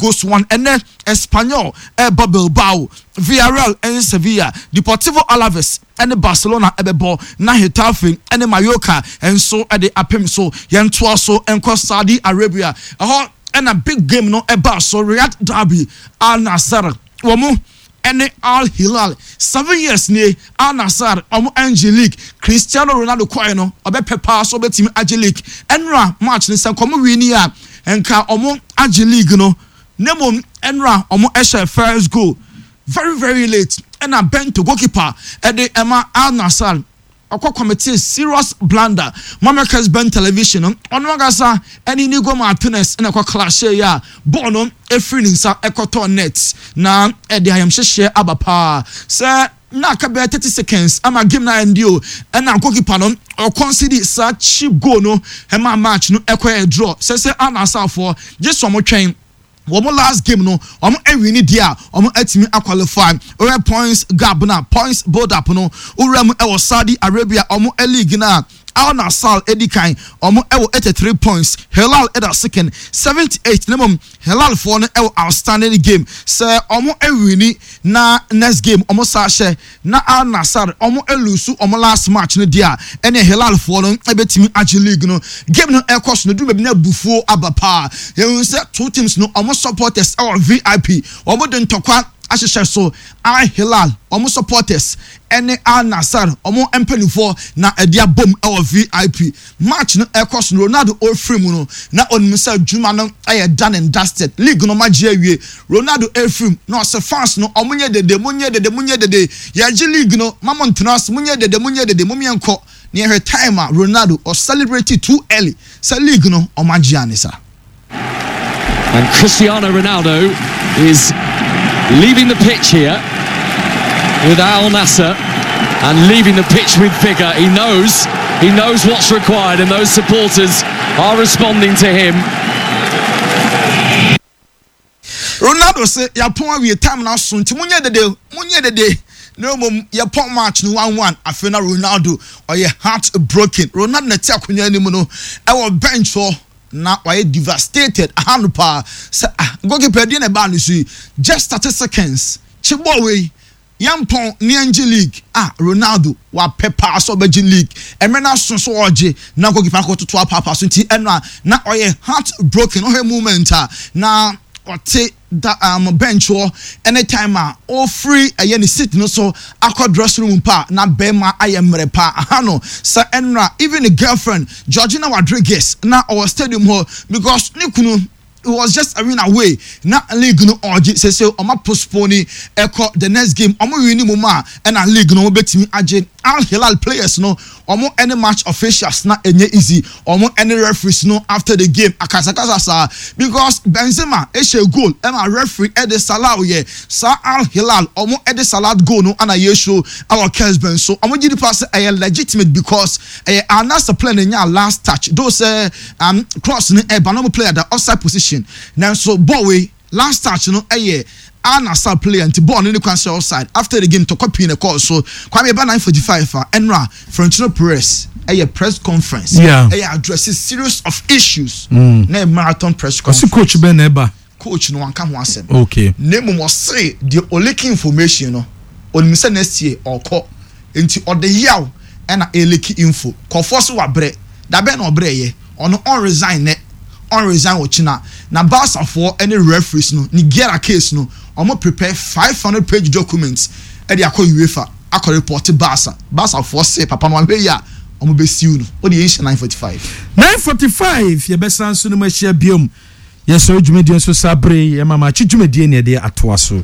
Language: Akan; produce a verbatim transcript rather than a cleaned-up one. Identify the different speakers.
Speaker 1: goes to one. Ɛnɛ Espanyol ɛbɔ Bilbao, Villarreal ɛne Sevilla, Deportivo Alaves ɛne Barcelona ɛbɛbɔ, na Getafe ɛne Mallorca nso ɛde apem so. Yɛntoa so nkɔ Saudi Arabia. Ɛhɔ ɛna big game no ɛba so, Riyadh derby, Al Nassr wɔn ɛne Al Hilal. Seven years nie Al Nassr ɔmo ɛngye league. Cristiano Ronaldo kɔɛ no, ɔbɛpɛ paa so ɔbɛtumi agye league. Ɛnura match ne sɛ nkɔmɔ win a, nka ɔmo agye league no. Ne mmom ɛnura ɔmo ɛhyɛ first goal very very late, ɛna Bento, goalkeeper ɛde ɛma Al Nassr, ɔkɔ commit serious blunder. Mama Ben Television no, ɔno ankasa ɛne Inigo Martinez ɛna ɛkɔ clash yi a bɔɔl no efiri ne nsa ɛkɔtɔ net, na ɛde ayamhyehyɛ aba paa sɛ na aka bɛyɛ thirty seconds ama game na ɛndi o, ɛna goalkeeper no ɔconcede saa cheap goal no, ɛma match no ɛkɔ yɛ draw. Sɛ sɛ Al Nassrfoɔ gye sɛ ɔmo twɛn wɔn last game no, wɔn awin ni deɛ a, wɔn atumi aqualify. Ɔyɛ points gap na points build up no owura mu ɛwɔ Saudi Arabia wɔn league na Al Nassr edi kan, wɔn ɛwɔ eighty three points. Hilal ɛda second, seventy eight. Ne mom Hilal foɔ no ɛwɔ outstanding game sɛ wɔn awin na next game wɔn sa hyɛ na Al Nassr wɔn elose wɔn last match no deɛ a, ɛne Hilal foɔ no ɛbɛtumi agye league no. Game no ɛkɔ so no duru baabi na abufuo aba paa. Yɛn sɛ two teams no wɔn supporters ɛwɔ V I P, wɔn de ntɔkwa ahyehyɛ so. Al Hilal wɔn supporters ɛne Al Nassr wɔn mpanimfoɔ na ɛde abom ɛwɔ V I P. Match no ɛkɔ so no, Ronaldo ofiri mu no na onim sɛ adwuma no ɛyɛ done and dusted, league no magye awie. Ronaldo efiri mu na ɔsɛ fans no, ɔmo nyɛ dede, mo nyɛ dede, mo nyɛ dede, yɛgye league no, mamo ntena ase, mo nyɛ dede, mo nyɛ dede, mo miɛ nkɔ. Ne yɛhwɛ time a Ronaldo ɔcelebrate too early sɛ league no ɔmo agye anisa.
Speaker 2: And Cristiano Ronaldo is leaving the pitch here with Al Nassr and leaving the pitch with vigour. He knows, he knows what's required, and those supporters are responding to him.
Speaker 1: Ronaldo sɛ yɛapɔn awie, time na so, nti monyɛ dede, monyɛ dede. Na mmom yɛpɔn match no one one. Afei na Ronaldo ɔyɛ heart broken. Ronaldo na ti akonnwa anim no ɛwɔ bench hɔ na wayɛ devastated aha no paa sɛ, ah, goalkeeper deɛ na ɛbaa no so yi, just thirty seconds kye bɔɔl wei, yɛmpɔn ne yɛngye league. Ah, Ronaldo wapɛ paa sɛ ɔbɛgye league, ɛmɛ no aso so ɔgye na goalkeeper akɔtoto apaapa so, nti ɛno a na ɔyɛ heart broken. Ɔhwɛ moment a na ɔte da um, bench hɔ, anytime a ɔfiri ɛyɛ ne seat no so akɔ dressing room pa na bɛrima ayɛ mmerɛ pa aha no sɛ ɛnora even the girlfriend Georgina Rodriguez na ɔwɔ stadium hɔ because ne kunu, it was just a win away na league no ɔgye. Sese ɔma postpone ɛkɔ the next game, ɔmo win mu mu a, ɛna league no ɔmo bɛtumi agye. Al Hilal players no, ɔmo ɛne match officials na ɛnyɛ easy, ɔmo ɛne referees no after the game akasakasa saa because Benzema ɛhyɛ goal ɛma referee ɛde disallow yɛ saa. Al Hilal ɔmo ɛde disallow goal no ɛna yɛsho ɛwɔ Kesben so. Ɔmo gye nipa sɛ ɛyɛ legitimate because ɛyɛ Al Nassr player na nya last touch, though sɛ um, cross no ɛba na ɔmo player da offside position, nanso ball wei last touch no ɛyɛ Al Nassr player, nti ball no ne kwan sɛ offside. After the game, tɔkɔ pii na ɛkɔɔ so. Kwame, ɛba nine forty five a, ɛnora Florentino Perez ɛyɛ press conference,
Speaker 3: Yeah.
Speaker 1: ɛyɛ address series of issues na ɛyɛ marathon press conference.
Speaker 3: Ɔsi coach bɛn na ɛba?
Speaker 1: Coach no wanka ho asɛm.
Speaker 3: Okay
Speaker 1: na mmom ɔse deɛ ɔleak information no, onim sɛ next year ɔkɔ, nti ɔde yaw ɛna ɛleak info kɔfoɔ so. Wabrɛ dabɛn na ɔbrɛ yɛ, ɔno ɔnresign nɛ, ɔnresign wɔ kyina. Na Barcafoɔ ɛne referees no ne Negreira case no, ɔmo prepare five hundred page documents ɛde akɔ UEFA akɔ report Barca. Barcafoɔ se papa no ahwɛ yi a, ɔmo bɛ sue no. O de yɛn hyɛ nine forty five.
Speaker 3: Nine forty five, yɛbɛsan so no mu ahyia biom. Yɛsɔre dwumadie nso saa bere yi, yɛma maakye dwumadie ne yɛde atoa so.